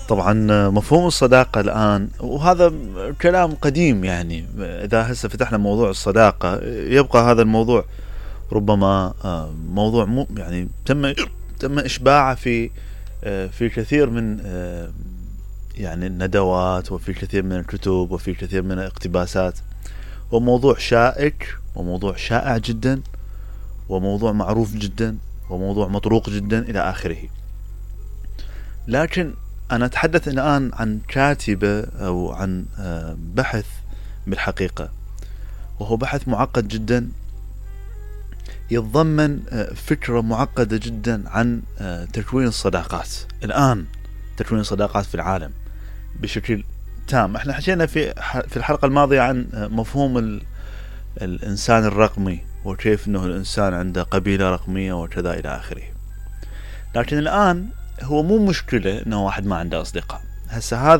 طبعا مفهوم الصداقة الآن وهذا كلام قديم، يعني إذا هسه فتحنا موضوع الصداقة يبقى هذا الموضوع ربما موضوع يعني تم إشباعه في كثير من يعني الندوات، وفي كثير من الكتب، وفي كثير من الاقتباسات، وموضوع شائك وموضوع شائع جدا وموضوع معروف جدا وموضوع مطروق جدا إلى آخره. لكن أنا أتحدث الآن عن كاتبة أو عن بحث بالحقيقة، وهو بحث معقد جدا يتضمن فكرة معقدة جدا عن تكوين الصداقات الآن، تكوين الصداقات في العالم بشكل تام. احنا حكينا في الحلقة الماضية عن مفهوم الإنسان الرقمي، وكيف أنه الإنسان عنده قبيلة رقمية وكذا إلى آخره. لكن الآن هو مو مشكلة أنه واحد ما عنده أصدقاء. هسه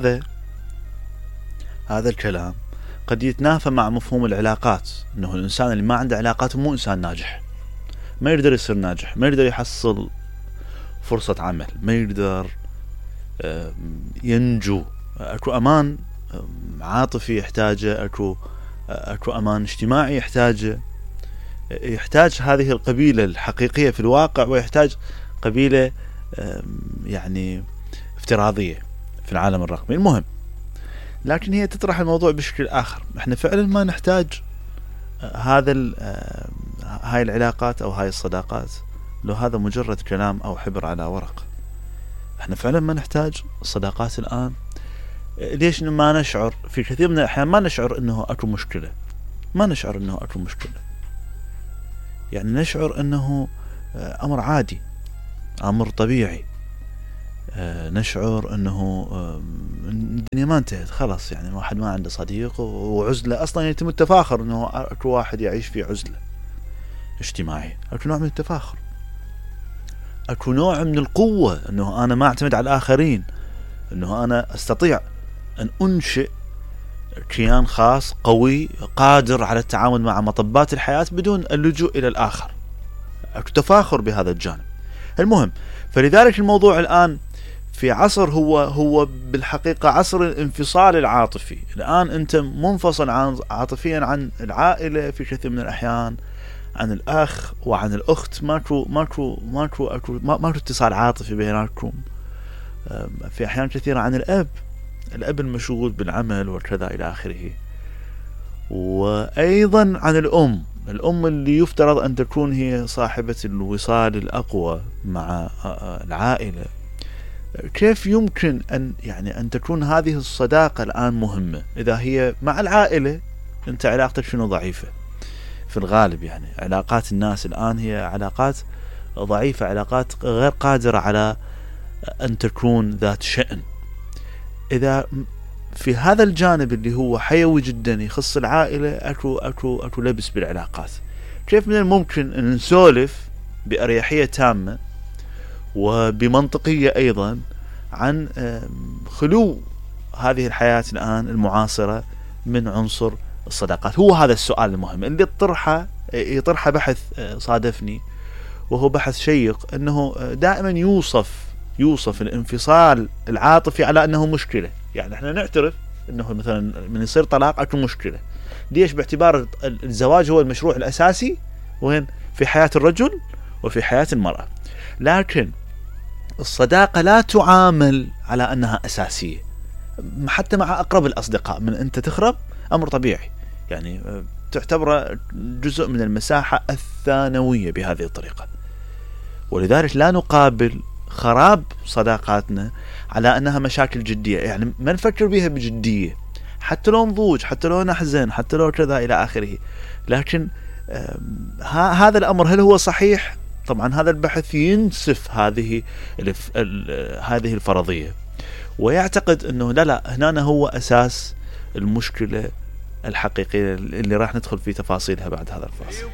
هذا الكلام قد يتنافى مع مفهوم العلاقات، أنه الإنسان اللي ما عنده علاقات مو إنسان ناجح، ما يقدر يصير ناجح، ما يقدر يحصل فرصة عمل، ما يقدر ينجو. أكو أمان عاطفي يحتاجه، أكو أمان اجتماعي يحتاج هذه القبيلة الحقيقية في الواقع، ويحتاج قبيلة يعني افتراضية في العالم الرقمي. المهم، لكن هي تطرح الموضوع بشكل آخر. احنا فعلا ما نحتاج هاي العلاقات أو هاي الصداقات، لو هذا مجرد كلام أو حبر على ورق. احنا فعلا ما نحتاج الصداقات الآن. ليش ما نشعر في كثير من الأحيان ما نشعر أنه أكو مشكلة، يعني نشعر أنه أمر عادي، أمر طبيعي. نشعر أنه الدنيا ما انتهت خلاص، يعني واحد ما عنده صديق وعزلة. أصلا يتم التفاخر أنه أكو واحد يعيش في عزلة اجتماعي، أكو نوع من التفاخر، أكو نوع من القوة، أنه أنا ما أعتمد على الآخرين، أنه أنا أستطيع أن أنشئ كيان خاص قوي قادر على التعامل مع مطبات الحياة بدون اللجوء إلى الآخر. أكو تفاخر بهذا الجانب. المهم، فلذلك الموضوع الآن في عصر هو بالحقيقة عصر الانفصال العاطفي. الآن أنت منفصل عاطفيا عن العائلة في كثير من الأحيان، عن الأخ وعن الأخت، ماكو اتصال عاطفي بيناتكم. في أحيان كثيرة عن الأب المشغول بالعمل وكذا إلى آخره. وأيضا عن الأم اللي يفترض أن تكون هي صاحبة الوصال الأقوى مع العائلة. كيف يمكن أن تكون هذه الصداقة الآن مهمة إذا هي مع العائلة أنت علاقتك شنو ضعيفة؟ في الغالب يعني علاقات الناس الآن هي علاقات ضعيفة، علاقات غير قادرة على أن تكون ذات شأن. إذا في هذا الجانب اللي هو حيوي جدا يخص العائلة أكو لبس بالعلاقات، كيف من الممكن أن نسولف بأريحية تامة وبمنطقية أيضا عن خلو هذه الحياة الآن المعاصرة من عنصر الصداقات؟ هو هذا السؤال المهم اللي يطرحه بحث صادفني، وهو بحث شيق، أنه دائما يوصف الانفصال العاطفي على أنه مشكلة. يعني احنا نعترف أنه مثلا من يصير طلاق أكو مشكلة. ليش؟ باعتبار الزواج هو المشروع الأساسي وين في حياة الرجل وفي حياة المرأة. لكن الصداقة لا تعامل على أنها أساسية، حتى مع أقرب الأصدقاء. من أنت تخرب أمر طبيعي، يعني تعتبر جزء من المساحة الثانوية بهذه الطريقة. ولذلك لا نقابل خراب صداقاتنا على أنها مشاكل جدية، يعني ما نفكر بها بجدية، حتى لو نضوج، حتى لو نحزن، حتى لو كذا إلى آخره. لكن هذا الأمر هل هو صحيح؟ طبعا هذا البحث ينسف هذه الفرضية، ويعتقد أنه لا هنا هو أساس المشكلة الحقيقية اللي راح ندخل في تفاصيلها بعد هذا الفاصل.